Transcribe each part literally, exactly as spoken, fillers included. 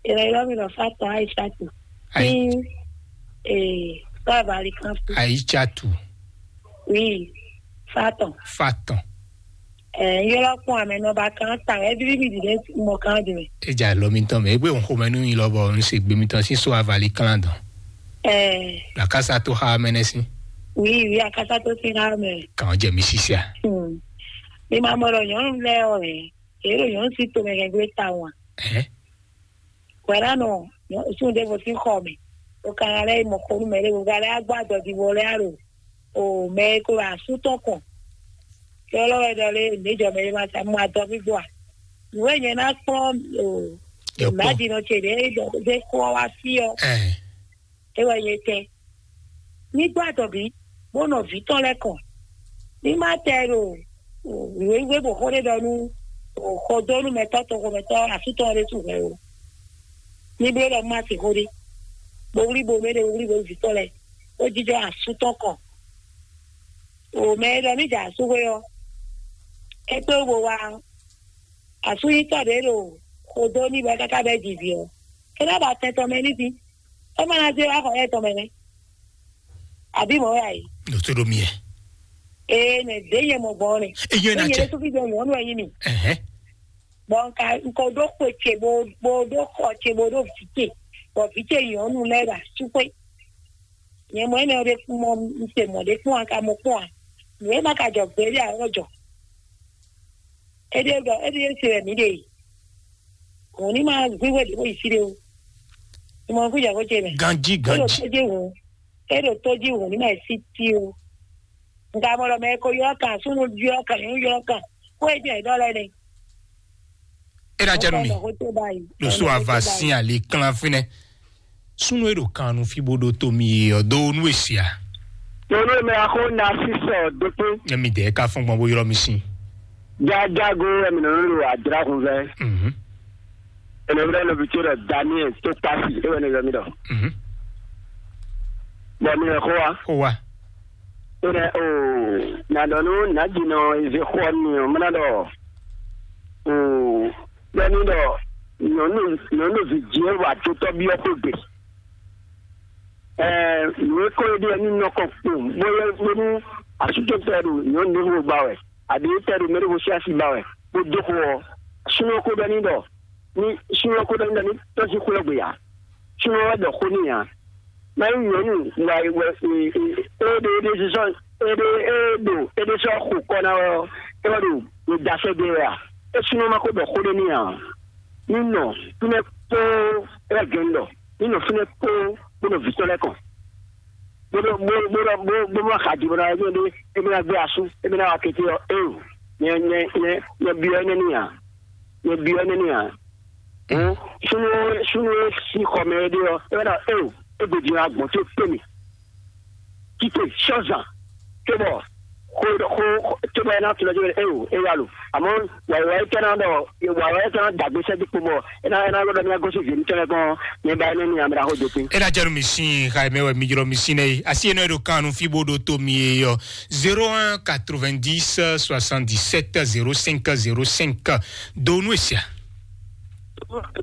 Ela ila mi nɔ Fatɔn Aishatu. Ai- Ní ee Baba Alikanfu. Aishatu. Oui, Fatɔn. Fatɔn. Ɛɛ, yɔlɔ kún amɛ nɔ ba kan ta ɛ bíbí mi dìde mɔ kan dì mɛ. Eja lɔ mi tɔn mɛ egbe òun xomɛ nú yin lɔbɔ òun se gbe mi tɔn sí so avali kan dɔn. Ɛɛ, Lakasa to xa mɛ nɛ sí. Oui, oui, akasa tó sí ha mɛ. Kàn jẹ mi sisia. Hmm. Mi ma mɔ ɖɔ nyɔnu lɛ ɔ ɛ. Èrò nyɔnu sí to mɛ kɛ gbé ta wan. Ɛhɛ. Wɛlá nɔ sun ɖěvo sín xɔ mɛ. O ka ŋa lɛ́ yi mɔ xó nú mɛ ɖěvo, ka lɛ́ gbɔ adɔdivɔ lɛ́ alo o mɛ e ko wɛ asú tɔn kɔn. Yɔlɔ wɛ ɖɔ lé nǐjɔ mɛ e ma sa mɔ adɔ gbígbó a. Nǔ e nyɛ ná kplɔ́n o Yɔ kpɔ́n. Mǎjínɔ ce ɖě ɖɔ ɖé kó ɔ́ wá fí ɔ́, Ɛɛ. É wɛ nyɛ tɛn. Ní gbɔ adɔbí, bó nɔ vǐ tɔn lɛ́ɛ kɔn. Ní má tɛ ɖo wěwé bɔ xó ɖé ɖɔ nú xɔdónúmɛtɔ́ toxomɛtɔ́ asú tɔn ɖé su hwɛ o. Ní bló ɖɔ má se xó ɖé. Bo wlí bo mɛ ɖé bo wlí bo vǐ tɔn lɛ́ɛ. Bó jínjɔ́n asú tɔn kɔn. O mɛ e ɖɔ ní jɛ asú xwé ɔ́, é kpé wú bo wá asú nyítɔ́ ɖě ɖo xodó ní bɔ é káká bɛ́ jivǐ ɔ́, é ná ba tɛn tɔn mɛ ní dín. É ma ná zé wá xɔ yɛ tɔn mɛ nɛ́. Àbí mɔ̌ wɛ a yě? Ɖo tó ɖo mi ɛ. Ee, nɛ ɖě nyɛ mɔ gbɔn nɛ. Eyɔn ná Ényɛ cɛ. Ɖésú fí jɔ nyɔ̌nu ɛ nyí mi. Ɛhɛn. Bɔ nka nko ɖó xwe ce bo bo ɖó xɔ ce bo ɖó vǐ ce, bɔ vǐ ce nyɔ̌nu lɛ́ɛ ɖo asúxwé. Nyɛ mɔ énɛ́ ɖé kpɔ́n mɔ un se mɔ̌ ɖé kpɔ́n a ka mɔ kpɔ́n a? Nǔ e ma ka jɔ gbeɖé ǎ wɛ jɔ. Éɖée ɖɔ éɖée se wɛ mǐ ɖe yi. Hǔn ní ma gbígbé ɖě bó yi fí ɖé ó. Ìmọ̀ kú jɛ kó ce mɛ. Ganjí, é ɖo ganjí. Tó jí hǔn é ɖo tó jí hǔn ní ma yi sí tí ó. Nga mɔ ɖɔ mɛ ko ylɔ́ kan súnnu ylɔ́ kan nyɔ̌nu ylɔ́ kan kó e jɛ ɖɔ lɛ́ nɛ. É ná jɛ nú mi. Kó tó báyìí. Losó ava sín ali klán fínɛ́. Súnnu e ɖo kan nu fí bó ɖó tó mi ɔ́ dó nú èsì a? Nyɔnu e mɛ axó na sísɔ dókpé. Nyɛ mi dɛɛ ká fɔ́n gbɔn bó ylɔ́ mi sín. Jájágo wɛ mi nɔ nɔ lo adra hun vɛ. Mhm. Ene wɛ nɔ bi tso ɖɔ Daniel tó kpasi e wɛ ne yɔ mi ɖɔ. Mhm. Bɔ mi yɛ xó wa. Xó wa. Ene o na ɖɔ nu na dzi nɔ eze xó mi o mɛ na ɖɔ o bɛ mi ɖɔ nyɔnu nyɔnu vi dzi e wa dotɔ bi ɔ́ xó gbe. Ɛɛ nǔ e kɔ é ɖe ní nɔ kɔ kpo bóyá bónú asútɔtɔ ɖo nyɔ̌nu ɖěvo gba wɛ, àbí tɛ ɖo mɛ ɖěvo sín asi ba wɛ, bó dó xo ɔ́, súnnu ɔ́ ko ɖɔ n'i ɖɔ ní súnnu ɔ́ ko ɖɔ n'i ɖɔ ní tɔ́sí xwé ɔ́ gbe ǎ. Súnnu ɔ́ wɛ ɖɔ xó n'i ǎ. Má nyí nyɔ̌nu wa wɛ é ɖe é ɖe sísɔ é ɖe é ɖo é ɖe sɔ́ xo kɔ ná wɛ ɔ́, é wɛ ɖo ɖo dasɛ ɖe wɛ a? É súnnu ɔ́ ma ko ɖɔ xó ɖé n'i ǎ. Ní nɔ fínɛ́ kpóó é wɛ gɛ̌n ɖɔ ní nɔ fínɛ́ kpóó bó nɔ vǐ tɔn lɛ́ɛ kɔn. Bó nɔ bó bó nɔ bó bó nɔ xa jǐ bó ná wá ɖé émí ná gbé asú émí ná wá kété ɔ́ éo nyɛ nyɛ nyɛ nyɛ byɔ́ énɛ́ n'i ǎ. Nyɛ byɔ́ énɛ́ n'i ǎ. Hǔn súnú súnú e sín xɔ mɛ é ɖe ɔ́ é wɛ ná éo é gbe jǐ ná gbɔn tó kpé mì. Títè sɔ́zan cóbɔ xó xó cóbɔ é ná tunɔ jɛ é o é wá lo àmọ́ wàyíwá é tɛ́ ná ɖɔ wàyíwá é tɛ́ ná dàgbé sɛ́ dípò bɔ é ná é ná lɔ́ ɖɔ ní agosí zě ní tɛ́ lɛ́ gbɔn ní ba énɛ́ ní amɛ ɖaxó dopin. É ná jɛ nú mi sín xa mɛ wɛ mi jlɔ mi sín nɛ asi énɛ́ ɖo kan nu fí bó ɖo tó mi é yɔ zéro un quatre-vingt-dix soixante-dix-sept zéro cinq zéro cinq. Do nú èsì a.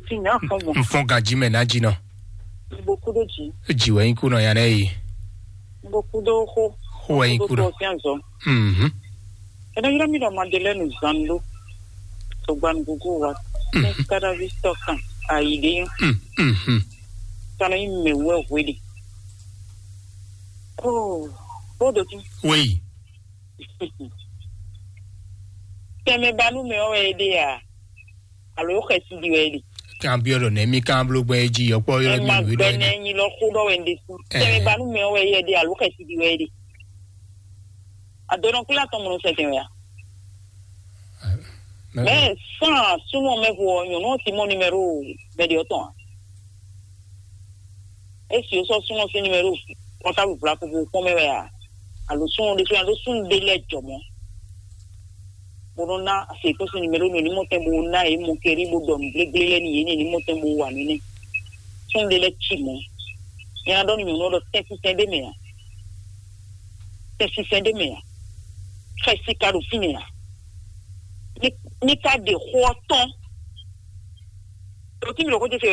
Ti nya fɔn gbɔn. N fɔn ganji mɛ ná jinɔ. Gbogbo kudo ji. Ji wɛ nyi kunɔ ya nɛ yi. Gbogbo kudo xo. Xo wɛ nyi kunɔ. Gbogbo fian zɔ. Mhm. Ɛnɛ yɔrɔ mi dɔ Madeleine Zando. To gban gugu wa. Mhm. Kadavi tɔ kan. Ayi de yɔ. Mhm. Kana yi mɛ wɛ hwe de. Oh, o do ti. Oui. Tɛmɛ banu mɛ wɛ de ya. Alo xɛsi di wɛ ɖi. Kan byɔ ɖɔ nɛ mi kan blo gbɛ jí yɔkpɔ yɔ mi nǔ ɖɔ gbɛnɛ nyi lɔ xó ɖɔ wɛ ɖe su. Tɛmɛ banu mɛ wɛ yɛ ɖi alo xɛsi di wɛ ɖi. Adɔnɔ kula tɔn mɔnɔ sɛ tɛmɛ ya. Mɛ san súnmọ́ mɛ vo nyɔnu ti mɔ numéro mɛ de ɔtɔn. Esi o sɔ súnmọ́ sí numéro portable bla ko bo kpɔn mɛ wɛ a? Alo súnmọ́ de súnmọ́ de lɛ jɔ mɔ. Bo nɔ ná se kó sin numéro nɔ ní mɔ tɛn bo ná yě mɔ kɛrí bo ɖɔ nǔ gblégblé lɛ́ɛ ní yě ní ní mɔ tɛn bo wa nú nɛ. Sɔ́n ɖé lɛ́ɛ ci mɔ̌. Nyɛ ná ɖɔ nú nyɔ̌nu ɔ́ ɖɔ tɛ́n sísɛ́n ɖé mɛ ǎ. Tɛ́n sísɛ́n ɖé mɛ ǎ. Xɛsi ka ɖo fínɛ́ ǎ. Ní ní ka ɖe xó ɔ́ tɔ́n. Ɖo tí mi ɖo xó ce se wɛ